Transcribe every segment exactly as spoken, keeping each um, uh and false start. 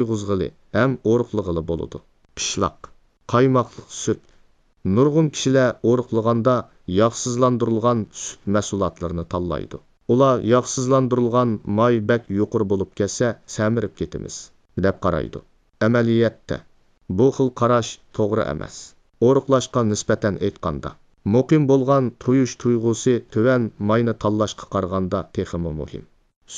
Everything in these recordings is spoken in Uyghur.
تويغۇزغىلى ھەم ئورۇقلىغىلى بولىدۇ. پىشلاق، قايماقلىق سۈت. نۇرغۇن كىشىلەر ئورۇقلىغاندا ياغسىزلاندۇرۇلغان سۈت مەھسۇلاتلىرىنى تاللايدۇ. ئۇلار ياغسىزلاندۇرۇلغان ماي بەك يۇقىرى بولۇپ كەتسە، سەمرىپ كېتىمىز، دەپ قارايدۇ. ئەمەلىيەتتە، بۇ خىل قاراش توغرا ئەمەس. ئورۇقلاشقا نىسبەتەن ئېيتقاندا، مۇقىم بولغان تويۇش تۇيغۇسى تۆۋەن ماينى تاللاشقا قارىغاندا تېخىمۇ مۇھىم.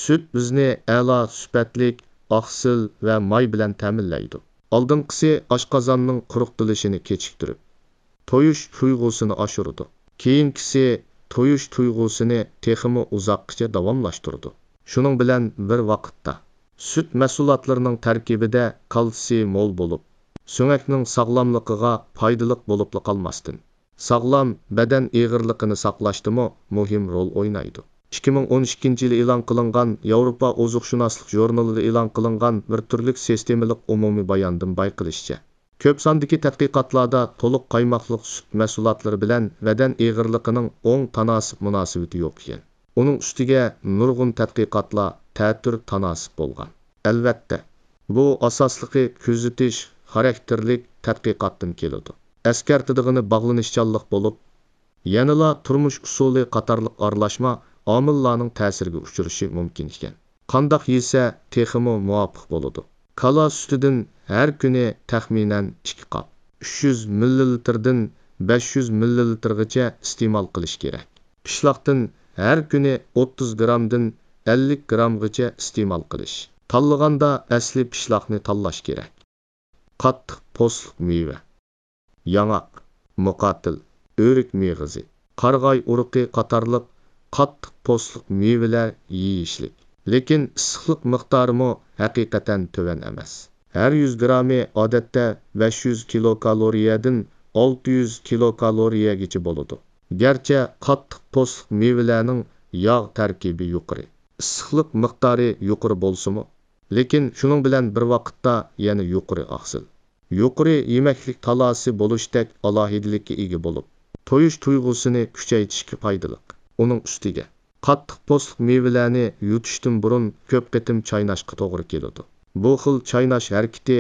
سۈت بىزنى ئەلا سۈپەتلىك ئاقسىل ۋە ماي بىلەن تەمىنلەيدۇ. ئالدىنقىسى ئاشقازاننىڭ قۇرۇقدىلىشىنى كېچىكتۈرۈپ، تويۇش تۇيغۇسىنى ئاشۇرىدۇ. كېيىنكىسى تويۇش تۇيغۇسىنى تېخىمۇ ئۇزاققىچە داۋاملاشتۇرىدۇ. شۇنىڭ بىلەن بىر ۋاقىتتا، سۈت مەھسۇلاتلىرىنىڭ تەركىبىدە كالتسىي مول بولۇپ، سۆڭەكنىڭ ساغلاملىقىغا پايدىلىق بولۇپلا قالماستىن، ساغلام بەدەن ئېغىرلىقىنى ساقلاشتىمۇ مۇھىم رول ئوينايدۇ. ئىككى مىڭ ئون ئىككىنچى يىلى ئېلان قىلىنغان ياۋروپا ئوزۇقشۇناسلىق ژۇرنىلىدا ئېلان قىلىنغان بىر تۈرلۈك سىستېمىلىق ئومۇمىي باياندىن بايقىلىشىچە، كۆپ ساندىكى تەتقىقاتلاردا تولۇق قايماقلىق سۈت مەھسۇلاتلىرى بىلەن بەدەن ئېغىرلىقىنىڭ ئوڭ تاناسىپ مۇناسىۋىتى يوق ئىكەن. ئۇنىڭ ئۈستىگە نۇرغۇن تەتقىقاتلار تەتۈر تاناسىپ بولغان. ئەلۋەتتە، بۇ ئاساسلىقى كۆزىتىش خاراكتېرلىك تەتقىقاتتىن كېلىدۇ. ئەسكەرتىدىغىنى باغلىنىشچانلىق بولۇپ، يەنىلا تۇرمۇش ئۇسۇلى قاتارلىق ئارىلاشما ئامىللارنىڭ تەسىرىگە ئۇچرىشى مۇمكىن ئىكەن. قانداق يېسە تېخىمۇ مۇۋاپىق بولىدۇ؟ كالا سۈتىدىن ھەر كۈنى تەخمىنەن ئىككى قاپ، ئۈچ يۈز مىللىلىتىردىن بەش يۈز مىللىلىتىرغىچە ئىستېمال قىلىش كېرەك. پىشلاقتىن ھەر كۈنى ئوتتۇز گرامدىن ئەللىك گرامغىچە ئىستېمال قىلىش. تاللىغاندا ئەسلى پىشلاقنى تاللاش كېرەك. قاتتىق پوستلۇق مېۋە. ياڭاق، مۇقاتىل، ئۆرۈك مېغىزى، قارىغاي ئۇرۇقى قاتارلىق قاتتىق پوستلۇق مېۋىلەر يېيىشلىك. لېكىن ئىسسىقلىق مىقدارىمۇ ھەقىقەتەن تۆۋەن ئەمەس. ھەر يۈز گرامى ئادەتتە بەش يۈز كىلوكالورىيەدىن ئالتە يۈز كىلوكالورىيەگىچە بولىدۇ. گەرچە قاتتىق پوستلۇق مېۋىلەرنىڭ ياغ تەركىبى يۇقىرى، ئىسسىقلىق مىقدارى يۇقىرى بولسىمۇ، لېكىن شۇنىڭ بىلەن بىر ۋاقىتتا يەنە يۇقىرى ئاقسىل، يۇقىرى يېمەكلىك تالاسى بولۇشتەك ئالاھىدىلىككە ئىگە بولۇپ، تويۇش تۇيغۇسىنى كۈچەيتىشكە پايدىلىق. ئۇنىڭ ئۈستىگە، قاتتىق پوستلۇق مېۋىلەرنى يۇتۇشتىن بۇرۇن كۆپ قېتىم چايناشقا توغرا كېلىدۇ. بۇ خىل چايناش ھەرىكىتى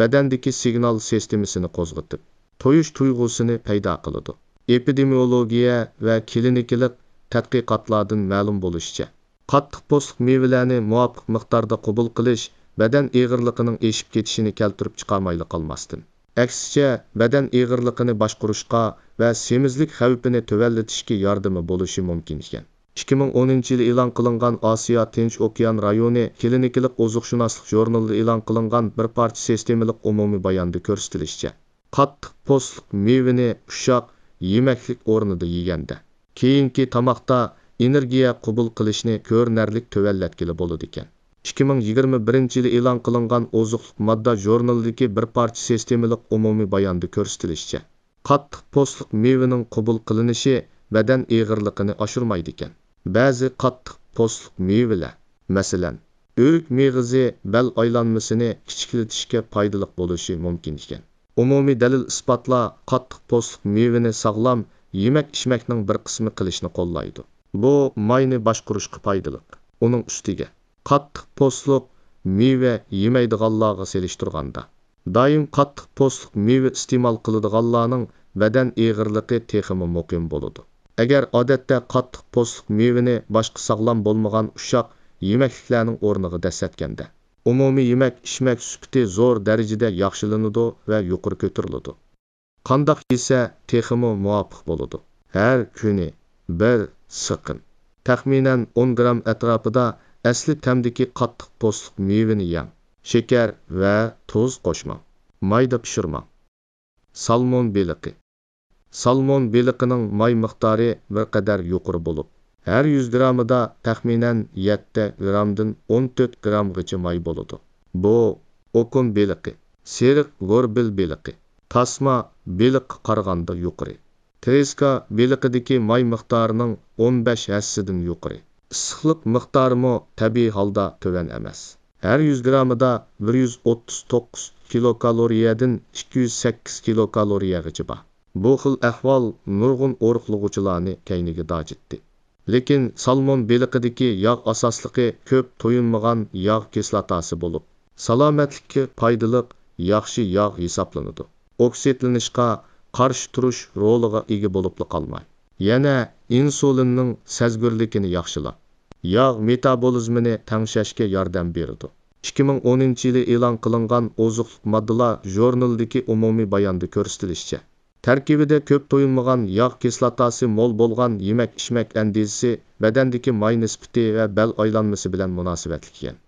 بەدەندىكى سىگنال سىستېمىسىنى قوزغىتىپ، تويۇش تۇيغۇسىنى پەيدا قىلىدۇ. ئېپىدېمىيولوگىيە ۋە كلىنىكىلىق تەتقىقاتلاردىن مەلۇم بولۇشىچە، قاتتىق پوستلۇق مېۋىلەرنى مۇۋاپىق مىقداردا قوبۇل قىلىش بەدەن ئېغىرلىقىنىڭ ئېشىپ كېتىشىنى كەلتۈرۈپ چىقارمايلا قالماستىن، ئەكسىچە، بەدەن ئېغىرلىقىنى باشقۇرۇشقا ۋە سېمىزلىك خەۋپىنى تۆۋەنلىتىشكە ياردىمى بولۇشى مۇمكىن ئىكەن. ئىككى مىڭ ئونىنچى يىلى ئېلان قىلىنغان ئاسىيا تىنچ ئوكيان رايونى كلىنىكىلىق ئوزۇقشۇناسلىق ژۇرنىلىدا ئېلان قىلىنغان بىر پارچە سىستېمىلىق ئومۇمىي باياندا كۆرسىتىلىشىچە، قاتتىق پوستلۇق مېۋىنى ئۇششاق يېمەكلىك ئورنىدا يېگەندە، كېيىنكى تاماقتا ئېنېرگىيە قوبۇل قىلىشنى كۆرۈنەرلىك تۆۋەنلەتكىلى بولىدىكەن. ئىككى مىڭ يىگىرمە بىرىنچى يىلى ئېلان قىلىنغان ئوزۇقلۇق ماددا ژۇرنىلىدىكى بىر پارچە سىستېمىلىق ئومۇمىي باياندا كۆرسىتىلىشىچە، قاتتىق پوستلۇق مېۋىنىڭ قوبۇل قىلىنىشى بەدەن ئېغىرلىقىنى ئاشۇرمايدىكەن. بەزى قاتتىق پوستلۇق مېۋىلەر، مەسىلەن، ئۆرۈك مېغىزى بەل ئايلانمىسىنى كىچىكلىتىشكە پايدىلىق بولۇشى مۇمكىن ئىكەن. ئومۇمىي دەلىل-ئىسپاتلار قاتتىق پوستلۇق مېۋىنى ساغلام يېمەك-ئىچمەكنىڭ بىر قىسمى قىلىشنى قوللايدۇ. بۇ ماينى باشقۇرۇشقا پايدىلىق. ئۇنىڭ ئۈستىگە، قاتتىق پوستلۇق مېۋە يېمەيدىغانلارغا سېلىشتۇرغاندا، دائىم قاتتىق پوستلۇق مېۋە ئىستېمال قىلىدىغانلارنىڭ بەدەن ئېغىرلىقى تېخىمۇ مۇقىم بولىدۇ. ئەگەر ئادەتتە قاتتىق پوستلۇق مېۋىنى باشقا ساغلام بولمىغان ئۇششاق يېمەكلىكلەرنىڭ ئورنىغا دەسسەتكەندە، ئومۇمىي يېمەك-ئىچمەك سۈپىتى زور دەرىجىدە ياخشىلىنىدۇ ۋە يۇقىرى كۆتۈرۈلىدۇ. قانداق يېسە تېخىمۇ مۇۋاپىق بولىدۇ؟ ھەر كۈنى بىر سىقىم، تەخمىنەن ئون گرام ئەتراپىدا ئەسلى تەمدىكى قاتتىق پوستلۇق مېۋىنى يەڭ. شېكەر ۋە تۇز قوشماڭ. مايدا پىشۇرماڭ. سالمون بېلىقى. سالمون بېلىقىنىڭ ماي مىقدارى بىر قەدەر يۇقىرى بولۇپ، ھەر يۈز گرامىدا تەخمىنەن يەتتە گرامدىن ئون تۆت گرامغىچە ماي بولىدۇ. بۇ ئوكۇن بېلىقى، سېرىق گوربىل بېلىقى، تاسما بېلىققا قارىغاندا يۇقىرى. ترېسكا بېلىقىدىكى ماي مىقدارىنىڭ ئون بەش ھەسسىدىن يۇقىرى. ئىسسىقلىق مىقدارىمۇ تەبىئىي ھالدا تۆۋەن ئەمەس. ھەر يۈز گرامىدا بىر يۈز ئوتتۇز توققۇز كىلوكالورىيەدىن ئىككى يۈز سەككىز كىلوكالورىيەغىچە بار. بۇ خىل ئەھۋال نۇرغۇن ئورۇقلىغۇچىلارنى كەينىگە داجىتتى. لېكىن سالمون بېلىقىدىكى ياغ ئاساسلىقى كۆپ تويۇنمىغان ياغ كىسلاتاسى بولۇپ، سالامەتلىككە پايدىلىق ياخشى ياغ ھېسابلىنىدۇ. ئوكسىدلىنىشقا قارشى تۇرۇش رولىغا ئىگە بولۇپلا قالماي، يەنە ئىنسۇلىننىڭ سەزگۈرلۈكىنى ياخشىلاپ، ياغ مېتابولىزمىنى تەڭشەشكە ياردەم بېرىدۇ. ئىككى مىڭ ئونىنچى يىلى ئېلان قىلىنغان ئوزۇقلۇق ماددىلار ژۇرنىلىدىكى ئومۇمىي باياندا كۆرسىتىلىشىچە، تەركىبىدە كۆپ تويۇنمىغان ياغ كىسلاتاسى مول بولغان يېمەك-ئىچمەك ئەندىزىسى بەدەندىكى ماي نىسبىتى ۋە بەل ئايلانمىسى بىلەن مۇناسىۋەتلىك ئىكەن.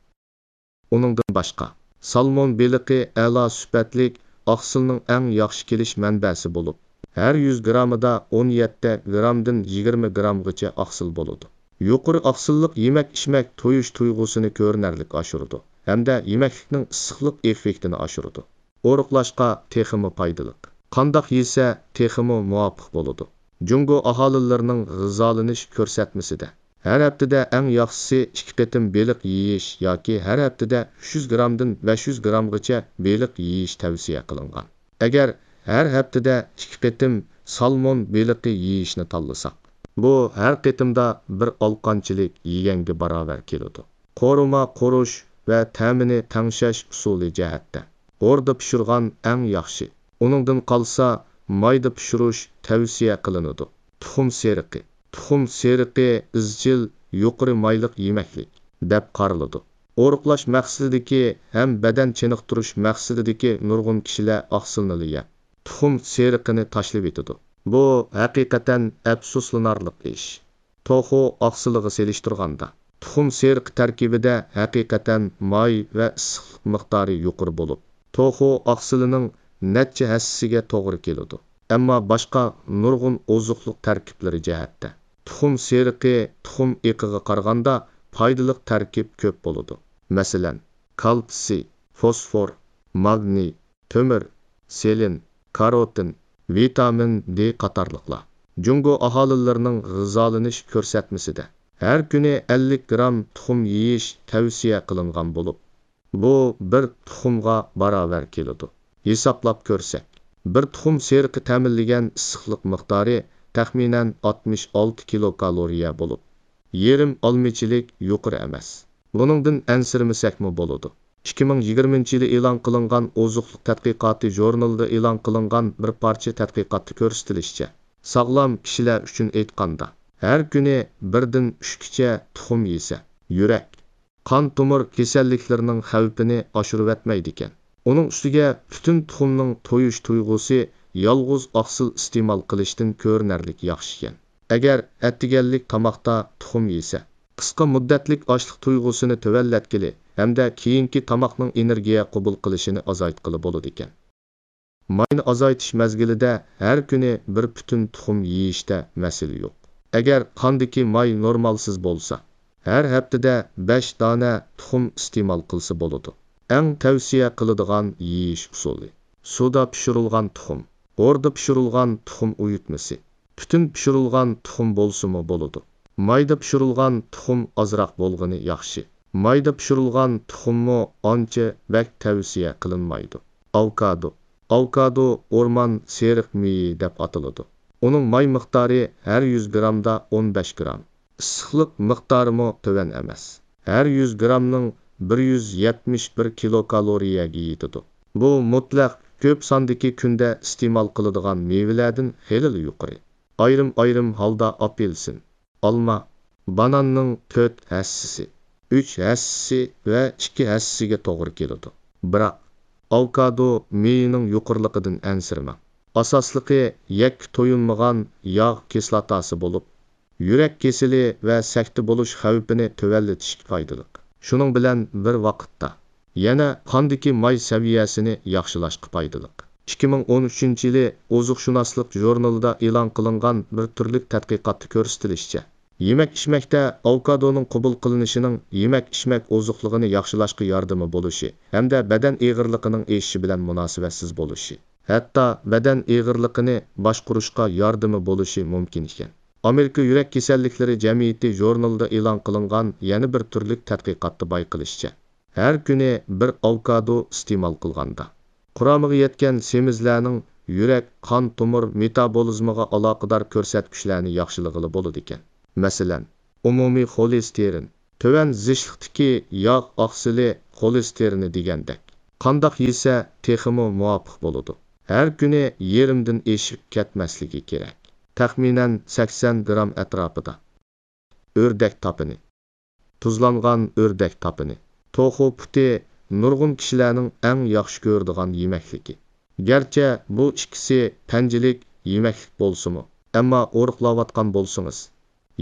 ئۇنىڭدىن باشقا، سالمون بېلىقى ئەلا سۈپەتلىك ئاقسىلنىڭ ئەڭ ياخشى كېلىش مەنبەسى بولۇپ، ھەر يۈز گرامىدا ئون يەتتە گرامدىن يىگىرمە گرامغىچە ئاقسىل بولىدۇ. يۇقىرى ئاقسىللىق يېمەك-ئىچمەك تويۇش تۇيغۇسىنى كۆرۈنەرلىك ئاشۇرىدۇ ھەمدە يېمەكلىكنىڭ ئىسسىقلىق ئېففېكتىنى ئاشۇرىدۇ. ئورۇقلاشقا تېخىمۇ پايدىلىق. قانداق يېسە تېخىمۇ مۇۋاپىق بولىدۇ؟ جۇڭگو ئاھالىلىرىنىڭ غىزالىنىش كۆرسەتمىسىدە، ھەر ھەپتىدە ئەڭ ياخشىسى ئىككى قېتىم بېلىق يېيىش ياكى ھەر ھەپتىدە ئۈچ يۈز گرامدىن بەش يۈز گرامغىچە بېلىق يېيىش تەۋسىيە قىلىنغان. ئەگەر ھەر ھەپتىدە ئىككى قېتىم سالمون بېلىقى يېيىشنى تاللىساق، بۇ ھەر قېتىمدا بىر ئالىقانچىلىك يېگەنگە باراۋەر كېلىدۇ. قورۇما قورۇش ۋە تەمىنى تەڭشەش ئۇسۇلى جەھەتتە، ھوردا پىشۇرغان ئەڭ ياخشى. ئۇنىڭدىن قالسا، مايدا پىشۇرۇش تەۋسىيە قىلىنىدۇ. تۇخۇم سېرىقى. تۇخۇم سېرىقى ئىزچىل يۇقىرى مايلىق يېمەكلىك دەپ قارىلىدۇ. ئورۇقلاش مەقسىتىدىكى ھەم بەدەن چېنىقتۇرۇش مەقسىتىدىكى نۇرغۇن كىشىلەر ئاقسىلنىلا يەپ، تۇخۇم سېرىقىنى تاشلىۋېتىدۇ. بۇ ھەقىقەتەن ئەپسۇسلىنارلىق ئىش. توخۇ ئاقسىلىغا سېلىشتۇرغاندا، تۇخۇم سېرىقى تەركىبىدە ھەقىقەتەن ماي ۋە ئىسسىقلىق مىقدارى يۇقىرى بولۇپ، توخۇ ئاقسىلىنىڭ نەچچە ھەسسىسىگە توغرا كېلىدۇ. ئەمما باشقا نۇرغۇن ئوزۇقلۇق تەركىبلىرى جەھەتتە، تۇخۇم سېرىقى تۇخۇم ئېقىغا قارىغاندا پايدىلىق تەركىب كۆپ بولىدۇ. مەسىلەن، كالتسىي، فوسفور، ماگنىي، تۆمۈر، سېلېن، كاروتىن، ۋىتامىن دې قاتارلىقلار. جۇڭگو ئاھالىلىرىنىڭ غىزالىنىش كۆرسەتمىسىدە، ھەر كۈنى ئەللىك گرام تۇخۇم يېيىش تەۋسىيە قىلىنغان بولۇپ، بۇ بىر تۇخۇمغا باراۋەر كېلىدۇ. ھېسابلاپ كۆرسەك، بىر تۇخۇم سېرىقى تەمىنلىگەن ئىسسىقلىق مىقدارى تەخمىنەن ئاتمىش ئالتە كىلوكالورىيە بولۇپ، يېرىم ئالمىچىلىك يۇقىرى ئەمەس. بۇنىڭدىن ئەنسىرىمىسەكمۇ بولىدۇ. ئىككى مىڭ يىگىرمىنچى يىلى ئېلان قىلىنغان ئوزۇقلۇق تەتقىقاتى ژۇرنىلىدا ئېلان قىلىنغان بىر پارچە تەتقىقاتتا كۆرسىتىلىشىچە، ساغلام كىشىلەر ئۈچۈن ئېيتقاندا، ھەر كۈنى بىردىن ئۈچكىچە تۇخۇم يېسە، يۈرەك، قان تومۇر كېسەللىكلىرىنىڭ خەۋپىنى ئاشۇرۇۋەتمەيدىكەن. ئۇنىڭ ئۈستىگە پۈتۈن تۇخۇمنىڭ تويۇش تۇيغۇسى يالغۇز ئاقسىل ئىستېمال قىلىشتىن كۆرۈنەرلىك ياخشىكەن. ئەگەر ئەتىگەنلىك تاماقتا تۇخۇم يېسە، قىسقا مۇددەتلىك ئاچلىق تۇيغۇسىنى تۆۋەنلەتكىلى ھەمدە كېيىنكى تاماقنىڭ ئېنېرگىيە قوبۇل قىلىشىنى ئازايتقىلى بولىدىكەن. ماينى ئازايتىش مەزگىلىدە ھەر كۈنى بىر پۈتۈن تۇخۇم يېيىشتە مەسىلە يوق. ئەگەر قاندىكى ماي نورمالسىز بولسا، ھەر ھەپتىدە بەش دانە تۇخۇم ئىستېمال قىلسا بولىدۇ. ئەڭ تەۋسىيە قىلىدىغان يېيىش ئۇسۇلى: سۇدا پىشۇرۇلغان تۇخۇم، ھوردا پىشۇرۇلغان تۇخۇم ئۇيۇتمىسى، پۈتۈن پىشۇرۇلغان تۇخۇم بولسىمۇ بولىدۇ. مايدا پىشۇرۇلغان تۇخۇم ئازراق بولغىنى ياخشى. مايدا پىشۇرۇلغان تۇخۇممۇ ئانچە بەك تەۋسىيە قىلىنمايدۇ. ئاۋوكادو. ئاۋوكادو ئورمان سېرىق مېيى دەپ ئاتىلىدۇ. ئۇنىڭ ماي مىقدارى ھەر يۈز گرامدا ئون بەش گرام. ئىسسىقلىق مىقدارىمۇ تۆۋەن ئەمەس. ھەر يۈز گرامنىڭ بىر يۈز يەتمىش بىر كىلوكالورىيەگە يېتىدۇ. بۇ مۇتلەق كۆپ ساندىكى كۈندە ئىستېمال قىلىدىغان مېۋىلەردىن خېلىلا يۇقىرى. ئايرىم-ئايرىم ھالدا ئاپېلسىن، ئالما، باناننىڭ تۆت ھەسسىسى، ئۈچ ھەسسىسى ۋە ئىككى ھەسسىسىگە توغرا كېلىدۇ. بىراق، ئاۋوكادو مېيىنىڭ يۇقىرىلىقىدىن ئەنسىرىمەڭ. ئاساسلىقى يەككە تويۇنمىغان ياغ كىسلاتاسى بولۇپ، يۈرەك كېسىلى ۋە سەكتە بولۇش خەۋپىنى تۆۋەنلىتىشكە پايدىلىق. شۇنىڭ بىلەن بىر ۋاقىتتا، يەنە قاندىكى ماي سەۋىيەسىنى ياخشىلاشقا پايدىلىق. ئىككى مىڭ ئون ئۈچىنچى يىلى ئوزۇقشۇناسلىق ژۇرنىلىدا ئېلان قىلىنغان بىر تۈرلۈك تەتقىقاتتا كۆرسىتىلىشىچە، يېمەك-ئىچمەكتە ئاۋوكادونىڭ قوبۇل قىلىنىشىنىڭ يېمەك-ئىچمەك ئوزۇقلۇقىنى ياخشىلاشقا ياردىمى بولۇشى ھەمدە بەدەن ئېغىرلىقىنىڭ ئېشىشى بىلەن مۇناسىۋەتسىز بولۇشى، ھەتتا بەدەن ئېغىرلىقىنى باشقۇرۇشقا ياردىمى بولۇشى مۇمكىن ئىكەن. ئامېرىكا يۈرەك كېسەللىكلىرى جەمئىيىتى ژۇرنىلىدا ئېلان قىلىنغان يەنە بىر تۈرلۈك تەتقىقاتتا بايقىلىشىچە، ھەر كۈنى بىر ئاۋوكادو ئىستېمال قىلغاندا، قۇرامىغا يەتكەن سېمىزلەرنىڭ يۈرەك، قان تومۇر مېتابولىزمىغا ئالاقىدار كۆرسەتكۈچلەرنى ياخشىلىغىلى بولىدىكەن. مەسىلەن، ئومۇمىي خولېستېرىن، تۆۋەن زىچلىقتىكى ياغ ئاقسىلى خولېستېرىنى دېگەندەك. قانداق يېسە تېخىمۇ مۇۋاپىق بولىدۇ؟ ھەر كۈنى يېرىمدىن ئېشىپ كەتمەسلىكى كېرەك. تەخمىنەن سەكسەن گرام ئەتراپىدا. ئۆردەك تاپىنى. تۇزلانغان ئۆردەك تاپىنى. توخۇ پۇتى نۇرغۇن كىشىلەرنىڭ ئەڭ ياخشى كۆرىدىغان يېمەكلىكى. گەرچە بۇ ئىككىسى پەنجىلىك يېمەكلىك بولسىمۇ، ئەمما ئورۇقلاۋاتقان بولسىڭىز،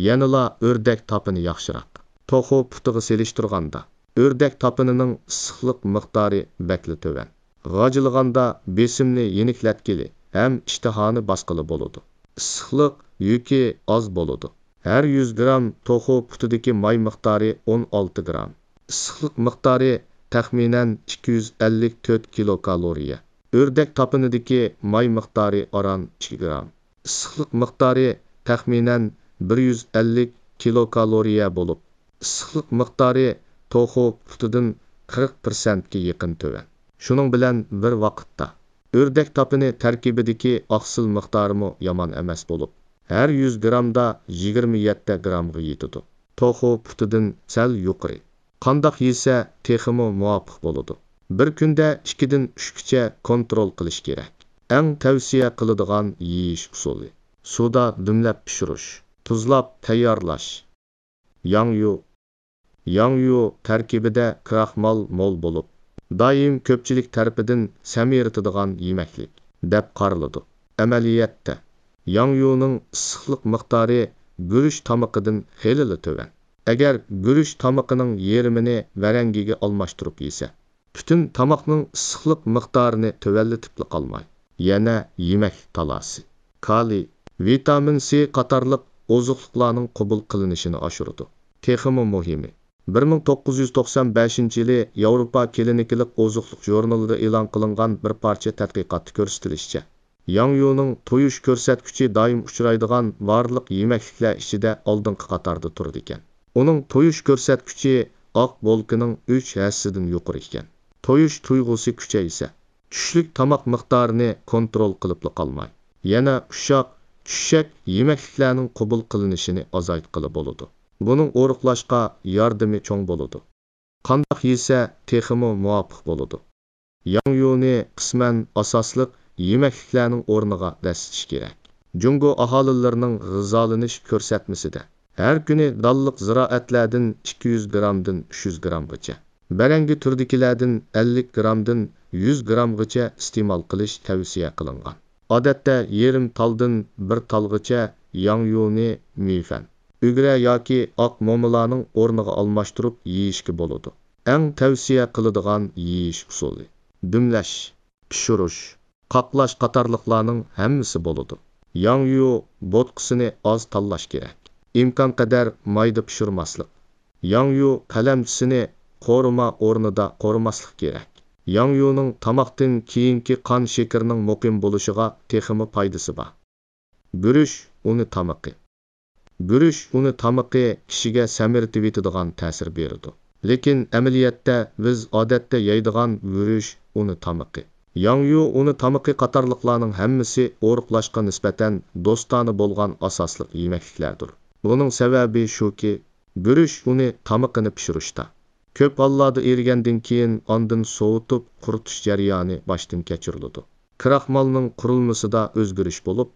يەنىلا ئۆردەك تاپىنى ياخشىراق. توخۇ پۇتىغا سېلىشتۇرغاندا، ئۆردەك تاپىنىنىڭ ئىسسىقلىق مىقدارى بەكلا تۆۋەن. غاجىلىغاندا بېسىمنى يېنىكلەتكىلى ھەم ئىشتىھانى باسقىلى بولىدۇ. ئىسسىقلىق يۈكى ئاز بولىدۇ. ھەر يۈز گرام توخۇ پۇتىدىكى ماي مىقدارى ئون ئالتە گرام. ئىسسىقلىق مىقدارى تەخمىنەن ئىككى يۈز ئەللىك تۆت كىلوكالورىيە. ئۆردەك تاپىنىدىكى ماي مىقدارى ئاران ئىككى گرام. ئىسسىقلىق مىقدارى تەخمىنەن بىر يۈز ئەللىك كىلوكالورىيە بولۇپ، ئىسسىقلىق مىقدارى توخۇ پۇتىدىن قىرىق پىرسەنتكە يېقىن تۆۋەن. شۇنىڭ بىلەن بىر ۋاقىتتا، ئۆردەك تاپىنى تەركىبىدىكى ئاقسىل مىقدارىمۇ يامان ئەمەس بولۇپ، ھەر يۈز گرامدا يىگىرمە يەتتە گرامغا يېتىدۇ. توخۇ پۇتىدىن سەل يۇقىرى. قانداق يېسە تېخىمۇ مۇۋاپىق بولىدۇ؟ بىر كۈندە ئىككىدىن ئۈچكىچە كونترول قىلىش كېرەك. ئەڭ تەۋسىيە قىلىدىغان يېيىش ئۇسۇلى: سۇدا دۈملەپ پىشۇرۇش، تۇزلاپ تەييارلاش. ياڭيۇ. ياڭيۇ تەركىبىدە كراخمال مول بولۇپ، دائىم كۆپچىلىك تەرىپىدىن سەمرىتىدىغان يېمەكلىك دەپ قارىلىدۇ. ئەمەلىيەتتە، ياڭيۇنىڭ ئىسسىقلىق مىقدارى گۈرۈچ تامىقىدىن خېلىلا تۆۋەن. ئەگەر گۈرۈچ تامىقىنىڭ يېرىمىنى ۋەرەڭگىگە ئالماشتۇرۇپ يېسە، پۈتۈن تاماقنىڭ ئىسسىقلىق مىقدارىنى تۆۋەنلىتىپلا قالماي، يەنە يېمەكلىك تالاسى، كالىي، ۋىتامىن سى قاتارلىق ئوزۇقلۇقلارنىڭ قوبۇل قىلىنىشىنى ئاشۇرىدۇ. تېخىمۇ مۇھىمى، بىر مىڭ توققۇز يۈز توقسان بەشىنچى يىلى ياۋروپا كلىنىكىلىق ئوزۇقلۇق ژۇرنىلىدا ئېلان قىلىنغان بىر پارچە تەتقىقاتتا كۆرسىتىلىشىچە، ياڭيۇنىڭ تويۇش كۆرسەتكۈچى دائىم ئۇچرايدىغان بارلىق يېمەكلىكلەر ئىچىدە ئالدىنقى قاتاردا تۇرىدىكەن. ئۇنىڭ تويۇش كۆرسەتكۈچى ئاق بولكىنىڭ ئۈچ ھەسسىدىن يۇقىرى ئىكەن. تويۇش تۇيغۇسى كۈچەيسە، چۈشلۈك تاماق مىقدارىنى كونترول قىلىپلا قالماي، يەنە ئۇششاق، چۈششەك يېمەكلىكلەرنىڭ قوبۇل قىلىنىشىنى ئازايتقىلى بولىدۇ. بۇنىڭ ئورۇقلاشقا ياردىمى چوڭ بولىدۇ. قانداق يېسە تېخىمۇ مۇۋاپىق بولىدۇ؟ ياڭيۇنى قىسمەن ئاساسلىق يېمەكلىكلەرنىڭ ئورنىغا دەسسىتىش كېرەك. جۇڭگو ئاھالىلىرىنىڭ غىزالىنىش كۆرسەتمىسىدە، ھەر كۈنى دانلىق زىرائەتلەردىن ئىككى يۈز گرامدىن ئۈچ يۈز گرامغىچە، بەرەڭگە تۈرىدىكىلەردىن ئەللىك گرامدىن يۈز گرامغىچە ئىستېمال قىلىش تەۋسىيە قىلىنغان. ئادەتتە يېرىم تالدىن بىر تالغىچە ياڭيۇنى مىفەن، ئۈگرە ياكى ئاق مومىلارنىڭ ئورنىغا ئالماشتۇرۇپ يېيىشكە بولىدۇ. ئەڭ تەۋسىيە قىلىدىغان يېيىش ئۇسۇلى: دۈملەش، پىشۇرۇش، قاقلاش قاتارلىقلارنىڭ ھەممىسى بولىدۇ. ياڭيۇ بوتقىسىنى ئاز تاللاش كېرەك. ئىمكانقەدەر مايدا پىشۇرماسلىق. ياڭيۇ قەلەمچىسىنى قورۇما ئورنىدا قورۇماسلىق كېرەك. ياڭيۇنىڭ تاماقتىن كېيىنكى قان شېكىرىنىڭ مۇقىم بولۇشىغا تېخىمۇ پايدىسى بار. گۈرۈچ ئۇنى تامىقى. گۈرۈچ ئۇنى تامىقى كىشىگە سەمرىتىۋېتىدىغان تەسىر بېرىدۇ. لېكىن ئەمەلىيەتتە بىز ئادەتتە يەيدىغان گۈرۈچ ئۇنى تامىقى، ياڭيۇ ئۇنى تامىقى قاتارلىقلارنىڭ ھەممىسى ئورۇقلاشقا نىسبەتەن دوستانە بولغان ئاساسلىق يېمەكلىكلەردۇر. بۇنىڭ سەۋەبى شۇكى، گۈرۈچ ئۇنى تامىقىنى پىشۇرۇشتا، كۆپ ھاللاردا ئېرىگەندىن كېيىن ئاندىن سوۋۇتۇپ قۇرۇتۇش جەريانى باشتىن كەچۈرۈلىدۇ. كراخمالنىڭ قۇرۇلمىسىدا ئۆزگىرىش بولۇپ،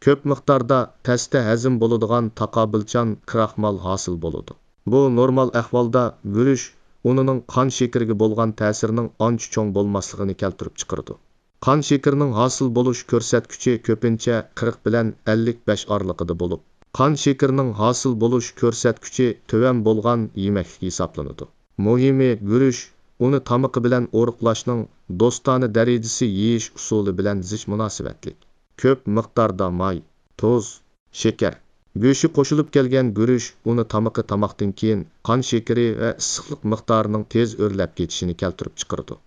كۆپ مىقداردا تەستە ھەزىم بولىدىغان تاقابىلچان كراخمال ھاسىل بولىدۇ. بۇ نورمال ئەھۋالدا گۈرۈچ ئۇنىنىڭ قان شېكىرىگە بولغان تەسىرىنىڭ ئانچە چوڭ بولماسلىقىنى كەلتۈرۈپ چىقىرىدۇ. قان شېكىرىنىڭ ھاسىل بولۇش كۆرسەتكۈچى كۆپىنچە قىرىق بىلەن ئەللىك بەش ئارىلىقىدا بولۇپ، قان شېكىرىنىڭ ھاسىل بولۇش كۆرسەتكۈچى تۆۋەن بولغان يېمەكلىك ھېسابلىنىدۇ. مۇھىمى، گۈرۈچ ئۇنى تامىقى بىلەن ئورۇقلاشنىڭ دوستانە دەرىجىسى يېيىش ئۇسۇلى بىلەن زىچ مۇناسىۋەتلىك. كۆپ مىقداردا ماي، تۇز، شېكەر، گۆشى قوشۇلۇپ كەلگەن گۈرۈچ ئۇنى تامىقى تاماقتىن كېيىن قان شېكىرى ۋە ئىسسىقلىق مىقدارىنىڭ تېز ئۆرلەپ كېتىشىنى كەلتۈرۈپ چىقىرىدۇ.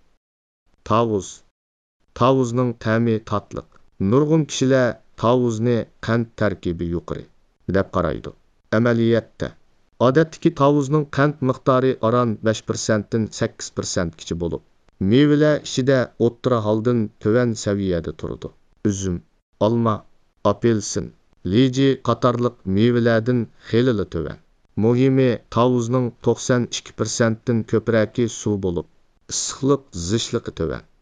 تاۋۇز. تاۋۇزنىڭ تەمى تاتلىق. نۇرغۇن كىشىلەر تاۋۇزنى قەنت تەركىبى يۇقىرى دەپ قارايدۇ. ئەمەلىيەتتە، ئادەتتىكى تاۋۇزنىڭ قەنت مىقدارى ئاران بەش پىرسەنتتىن سەككىز پىرسەنتكىچە بولۇپ، مېۋىلەر ئىچىدە ئوتتۇرا ھالدىن تۆۋەن سەۋىيەدە تۇرىدۇ. ئۈزۈم، ئالما، ئاپېلسىن، لىجى قاتارلىق مېۋىلەردىن خېلىلا تۆۋەن. مۇھىمى، تاۋۇزنىڭ توقسان ئىككى پىرسەنتتىن كۆپرەكى سۇ بولۇپ، ئىسسىقلىق زىچلىقى تۆۋەن.